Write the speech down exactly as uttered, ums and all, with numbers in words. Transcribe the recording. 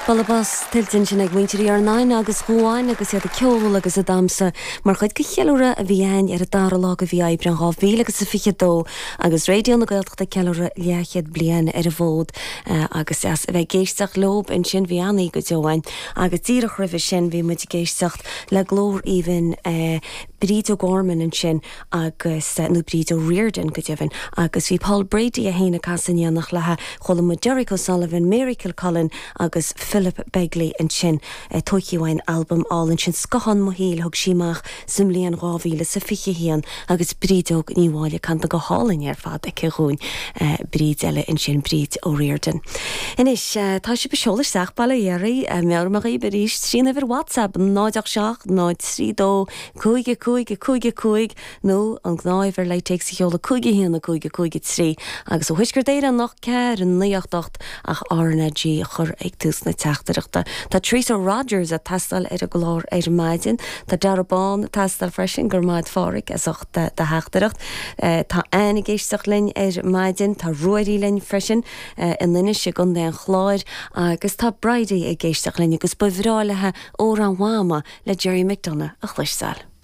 Bualadh bos tuillte ansin ag muintir Iarnáin agus Dhuáin agus iad ag ceol agus ag damhsa mar chuid de cheiliúradh a bhí ann ar an dara lá de mhí Aibreáin dhá mhíle agus a fiche dó agus Raidió na Gaeltachta ag ceiliúradh leathchéad bliain ar an bhfód agus deas a bheith ag éisteacht leo ansin bhí an-oíche go deo ann agus díreach roimhe sin bhí muid ag éisteacht le glór aoibhinn Bríd O'Gorman ansin agus nó Bríd O'Riordan go deimhin agus bhí Paul Brady é féin ag casadh in éineacht léi chuala muid Derek O'Sullivan, Mary Kilcullen agus Philip Begley ansin tógtha ón albam álainn sin Scothán mo Shaoil thug sí amach sa mbliain dhá mhíle sa fiche haon agus Brídóg Ní Mháille canta go hálainn ar fad aici dhúinn Bríd eile ansin Bríd O'Riordan. Anois tá sibh ag seoladh isteach bail ó Dhia oraibh meabhraím dhaoibh arís trína uimhir WhatsApp náid ocht seacht náid trí dó cúig a cúig a cúig a cúig nó an gnáthuimhir le téacs a sheoladh cúig a haon a cúig a cúig a trí agus ó Thuaisceart Éireann ocht ceathair naoi ocht ocht ach RnaG a chur ag tús na teachtaireachta. Tá Teresa Rogers ag teastáil ar an gclár ar maidin, Tá Dara Bán ag teastáil freisin gur maid fáric as ucht de theachtaireacht. Tá Anne ag éisteacht linn ar maidin, tá Ruairí linn freisin in Inis i gContae an Chláir agus tá Bridie ag éisteacht linn agus ba bhreá léi Amhrán Mhama le Gerry McDonagh a chloisteáil.